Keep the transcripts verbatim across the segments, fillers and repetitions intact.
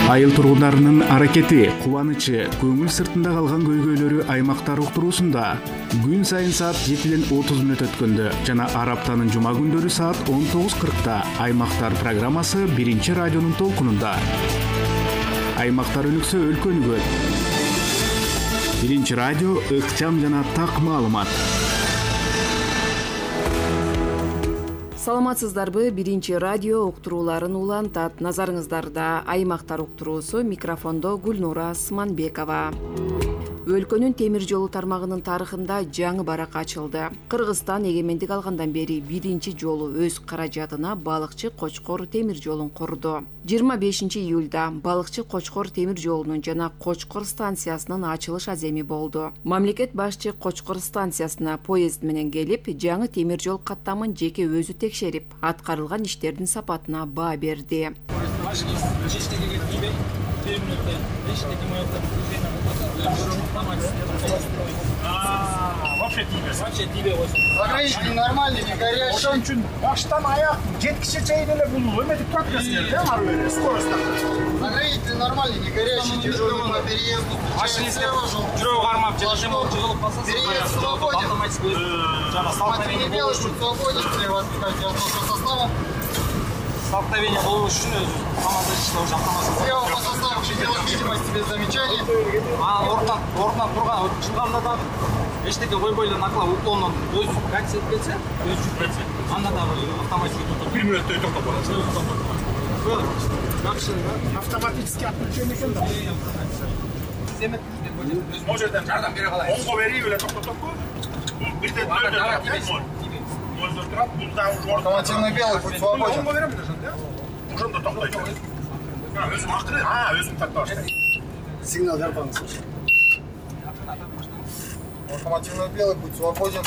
Айыл тургундарынын аракети, кубанычы, көңүл сыртында калган көйгөйлөрү аймактар уктуруусунда күн сайын саат жетиден отуз мүнөт өткөндө жана ар аптанын жума күндөрү саат он тогуз кыркта Аймактар программасы биринчи радионун толкунунда. Аймактар өнүксө өлкө өнүгөт. Биринчи радио ыкчам жана так маалымат. Саламатсыздарбы? Биринчи радио уктурууларын улантат. Назарыңыздарда Аймактар уктуруусу, микрофондо Гүлнура Сманбекова. Өлкөнүн темир жолу тармагынын тарыхында жаңы барак ачылды. Кыргызстан эгемендик алгандан бери биринчи жолу өз каражатына балыкчы Кочкор темир жолун курду. жыйырма бешинчи июлда балыкчы Кочкор темир жолунун жана Кочкор станциясынын ачылыш аземи болду. Мамлекет башчы Кочкор станциясына поезд менен келип, жаңы темир жол каттамын жеке өзү текшерип, аткарылган иштердин сапатына баа берди. Вообще тебе, вообще тебе ограничитель нормальный, не горячий. Ошон үчүн баштан аяк жеткиче чейин эле бул эметип турат экенсиңер, да, ары бери скорость так. Ограничитель нормальный, не горячий, тяжелый по переезду. Машинистке жүрөк кармап жетишем болуп жыгылып калса, переезд свободен. Автоматически делаешь, чтобы свободен, если вас пускать авто составом. Столкновение болуш үчүн өзү команда иште уже автоматически. Слева по составу пределах видимости без замечаний. А ордунан ордунан турган чыганда да эчтеке койбой эле наклап уклондон өз катса кетсе, өз жүрүп кетсе, анда да автоматически бир мүнөттөй токтоп калат. Жакшы, автоматически отключение экен да. Семет өз могу жерден жардам бере калайын. Оңго берип эле токтотоппу? Бирден дөйдө автомативный белый путь свободен. Ошондо токтойт. Өзүм акыры, а, өзүм тартып баштайм. Сигнал бербаңыз. Автомативный белый путь свободен.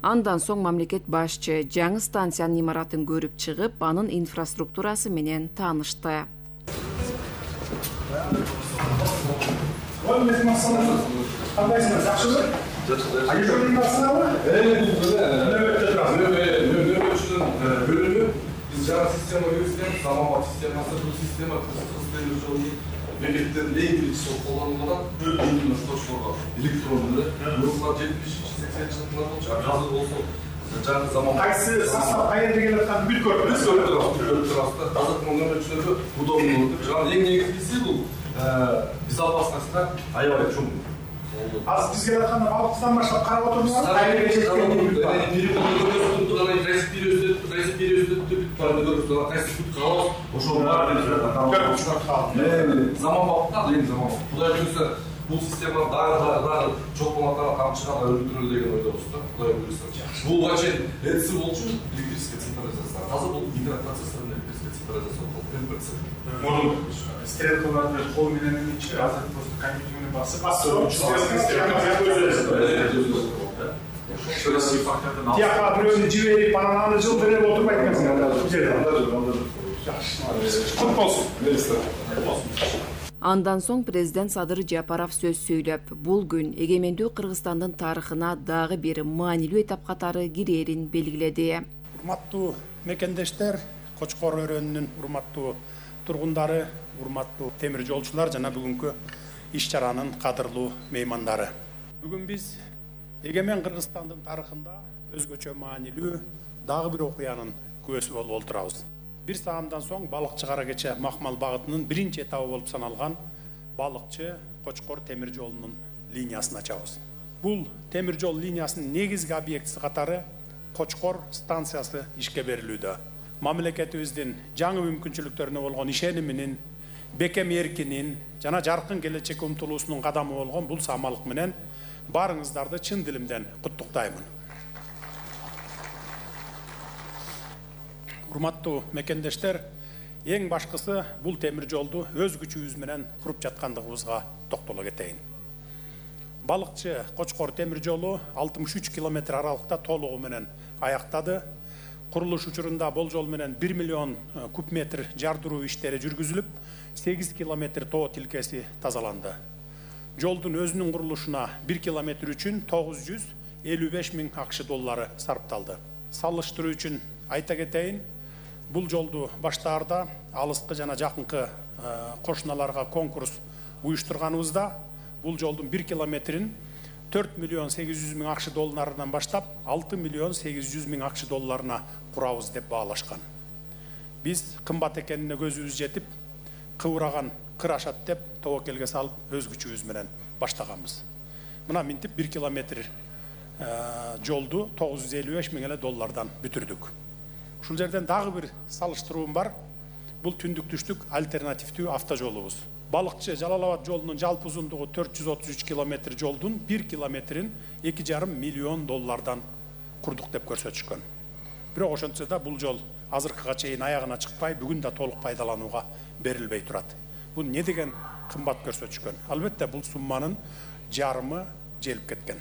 Андан соң мамлекет башчы жаңы станциянын имаратын көрүп чыгып, анын инфраструктурасы менен таанышты. Кандайсыңар, жакшыбы? Жакшы. Ай жолдун басынабы? Нөбөттө турасызбы? Нөбөтчүдөн бөлүнүп, биз жаңы система үйрөтүп, заманбап системасы, бул система Кыргыз темир жолунун бекеттерин эң биринчи колдонулган өлкөнүн Кочкорго электрондуу эле жетимиш сексенинчи жылдары болчу. Азыр болсо жаңы заман. Кайсы состав кайерде келип атканын бүт көрдүңүз? Көрүп турасыздар. Азыркы нөбөтчүлөргө удобный болуп, жаңы эң негизгиси бул безопасностьта аябай чоң. Азыр биз келе атканда балыктан баштап карап отурмузбу? Кайерге жеткенин заманбапта, эң заманбап. Кудай буйрса, бул система дагы дагы чоңкулактан камчыган өлтүрөлү деген ойдобуз да. Кудай буйрса. Буга чейин ЭЦ болчу, электрическая централизация. Азыр бул микропроцессордун электрическая централизация болуп МПЦ. Модуль стрелкаларды кол менен ичи, азыр просто компьютер менен басып, тияка бирөөнү жиберип, анан аны жылдырып отурбайт экенсиңер. Кут болсун. Андан соң президент Садыр Жапаров сөз сүйлөп, бул күн эгемендүү Кыргызстандын тарыхына дагы бир маанилүү этап катары кирээрин белгиледи. Урматтуу мекендештер, Кочкор өрөөнүнүн урматтуу тургундары, урматтуу темир жолчулар жана бүгүнкү иш чаранын кадырлуу меймандары. Бүгүн биз эгемен Кыргызстандын тарыхында өзгөчө маанилүү дагы бир окуянын күбөсү болуп отурабыз. Бир саамдан соң балыкчы кара кече Макмал багытынын биринчи этабы болуп саналган балыкчы Кочкор темир жолунун линиясын ачабыз. Бул темир жол линиясынын негизги объектиси катары Кочкор станциясы ишке берилүүдө. Мамлекетибиздин жаңы мүмкүнчүлүктөрүнө болгон ишениминин, бекем эркинин жана жаркын келечекке умтулуусунун кадамы болгон бул самалык менен баарыңыздарды чын дилимден куттуктаймын. Урматтуу мекендештер, эң башкысы бул темир жолду өз күчүбүз менен куруп жаткандыгыбызга токтоло кетейин. Балыкчы Кочкор темир жолу алтымыш үч километр аралыкта толугу менен аяктады. курулуш учурунда болжол менен бир миллион куб метр жардыруу иштери жүргүзүлүп, сегиз километр тоо тилкеси тазаланды. Жолдун өзүнүн курулушуна бир километр үчүн тогуз жүз элүү беш миң акш доллары сарпталды. Салыштыруу үчүн айта кетейин, бул жолду баштаарда алыскы жана жакынкы кошуналарга конкурс уюштурганыбызда бул жолдун бир километрин төрт миллион сегиз жүз миң акш долларынан баштап алты миллион сегиз жүз миң акш долларына курабыз деп баалашкан. Биз кымбат экенине көзүбүз жетип, кыбыраган кыр ашат деп тобокелге салып өз күчүбүз менен баштаганбыз. Мына минтип бир километр жолду тогуз жүз элүү беш миң эле доллардан бүтүрдүк. Ушул жерден дагы бир салыштыруум бар. Бул түндүк түштүк альтернативдүү автожолубуз. Балыкчы Жалал Абад жолунун жалпы узундугу төрт жүз отуз үч километр жолдун бир километрин эки жарым миллион доллардан курдук деп көрсөтүшкөн. Бирок ошентсе да бул жол азыркыга чейин аягына чыкпай, бүгүн да толук пайдаланууга берилбей турат. Бул не деген кымбат көрсөтүшкөн? Албетте бул сумманын жарымы желип кеткен.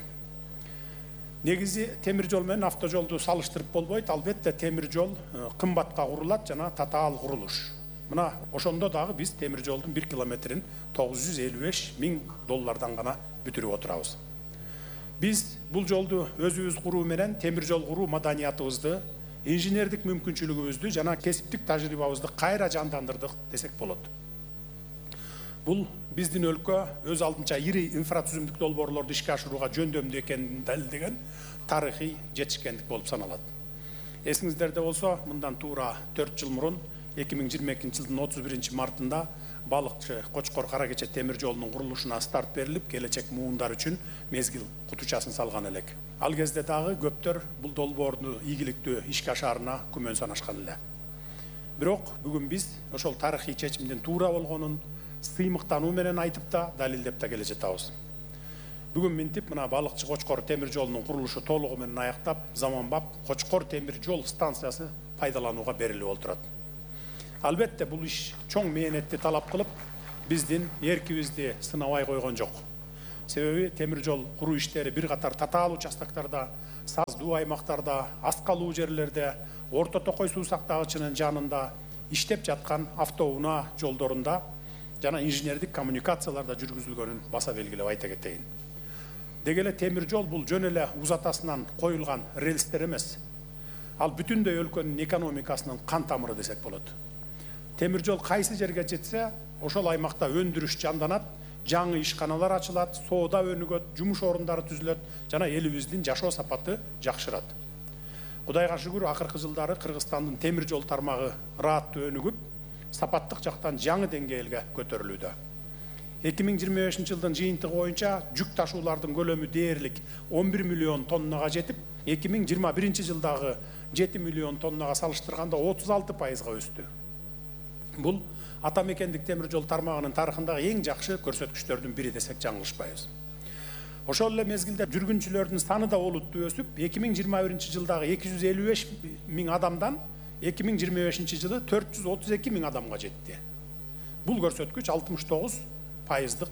Негизи темир жол менен автожолду салыштырып болбойт. Албетте темир жол кымбатка курулат жана татаал курулуш. Мына ошондо дагы биз темир жолдун бир километрин тогуз жүз элүү беш миң доллардан гана бүтүрүп отурабыз. Биз бул жолду өзүбүз куруу менен темир жол куруу маданиятыбызды, инженердик мүмкүнчүлүгүбүздү жана кесиптик тажрыйбабызды кайра жандандырдык десек болот. Бул биздин өлкө өз алдынча ири инфратүзүмдүк долбоорлорду ишке ашырууга жөндөмдүү экенин далилдеген тарыхый жетишкендик болуп саналат. Эсиңиздерде болсо, мындан туура төрт жыл мурун эки миң жыйырма экинчи жылдын отуз биринчи мартында Балыкчы Кочкор Каракече темир жолунун курулушуна старт берилип, келечек муундар үчүн мезгил кутучасын салган элек. Ал кезде дагы көптөр бул долбоорду ийгиликтүү ишке ашаарына күмөн санашкан эле. Бирок бүгүн биз ошол тарыхый чечимдин туура болгонун сыймыктануу менен айтып да, далилдеп да келе жатабыз. Бүгүн минтип мына Балыкчы Кочкор темир жолунун курулушу толугу менен аяктап, заманбап Кочкор темир жол станциясы пайдаланууга берилип отурат. Албетте бул иш чоң мээнетти талап кылып, биздин эркибизди сынабай койгон жок. Себеби темир жол куруу иштери бир катар татаал участоктарда, саздуу аймактарда, аскалуу жерлерде, орто токой суу сактагычынын жанында иштеп жаткан автоунаа жолдорунда жана инженердик коммуникацияларда жүргүзүлгөнүн баса белгилеп айта кетейин. Деги эле темир жол бул жөн эле узатасынан коюлган рельстер эмес. Ал бүтүндөй өлкөнүн экономикасынын кан тамыры десек болот. Темир жол кайсы жерге жетсе, ошол аймакта өндүрүш жанданат, жаңы ишканалар ачылат, соода өнүгөт, жумуш орундары түзүлөт жана элибиздин жашоо сапаты жакшырат. Кудайга шүгүр, акыркы жылдары Кыргызстандын темир жол тармагы ырааттуу өнүгүп, сапаттык жактан жаңы деңгээлге көтөрүлүүдө. эки миң жыйырма бешинчи жылдын жыйынтыгы боюнча жүк ташуулардын көлөмү дээрлик он бир миллион тоннага жетип, эки миң жыйырма биринчи жылдагы жети миллион тоннага салыштырганда отуз алты пайызга өстү. Бул ата мекендик темир жол тармагынын тарыхындагы эң жакшы көрсөткүчтөрдүн бири десек жаңылышпайбыз. Ошол эле мезгилде жүргүнчүлөрдүн саны да олуттуу өсүп, эки миң жыйырма биринчи жылдагы эки жүз элүү беш миң адамдан эки миң жыйырма бешинчи жылы төрт жүз отуз эки миң адамга жетти. Бул көрсөткүч алтымыш тогуз пайыздык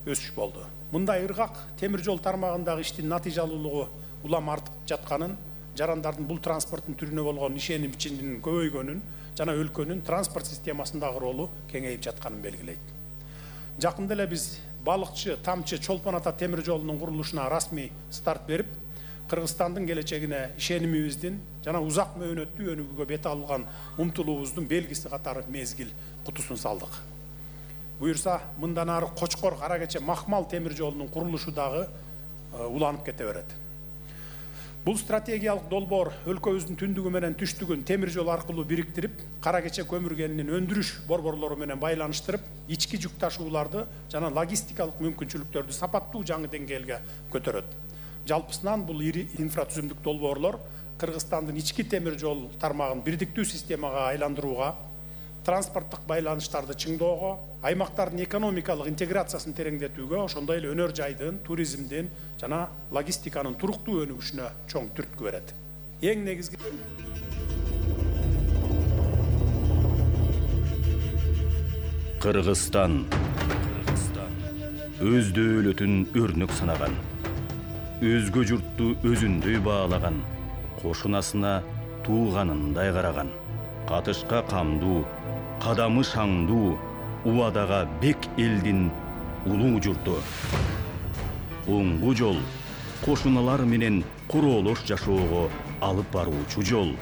өсүш болду. Мындай ыргак темир жол тармагындагы иштин натыйжалуулугу улам артып жатканын, жарандардын бул транспорттун түрүнө болгон ишенимчинин көбөйгөнүн жана өлкөнүн транспорт системасындагы ролу кеңейип жатканын белгилейт. Жакында эле биз Балыкчы Тамчы Чолпон Ата темир жолунун курулушуна расмий старт берип, Кыргызстандын келечегине ишенимибиздин жана узак мөөнөттүү өнүгүүгө бет алган умтулуубуздун белгиси катары мезгил кутусун салдык. Буюрса, мындан ары Кочкор Каракече Махмал темир жолунун курулушу дагы уланып кете берет. Бул стратегиялык долбоор өлкөбүздүн түндүгү менен түштүгүн темир жол аркылуу бириктирип, Каракече көмүр кенинин өндүрүш борборлору менен байланыштырып, ички жүк ташууларды жана логистикалык мүмкүнчүлүктөрдү сапаттуу жаңы деңгээлге көтөрөт. Жалпысынан бул ири инфратүзүмдүк долбоорлор Кыргызстандын ички темир жол тармагын бирдиктүү системага айландырууга, транспорттук байланыштарды чыңдоого, аймактардын экономикалык интеграциясын тереңдетүүгө, ошондой эле өнөр жайдын, туризмдин жана логистиканын туруктуу өнүгүшүнө чоң түрткү берет. Эң негизги Кыргызстан өз дөөлөтүн өрнөк санаган, өзгө журтту өзүндөй баалаган, кошунасына тууганындай караган. Катышка камдуу, кадамы шаңдуу, убадага бек элдин улуу журту. Оңгу жол кошуналар менен короолош жашоого алып баруучу жол.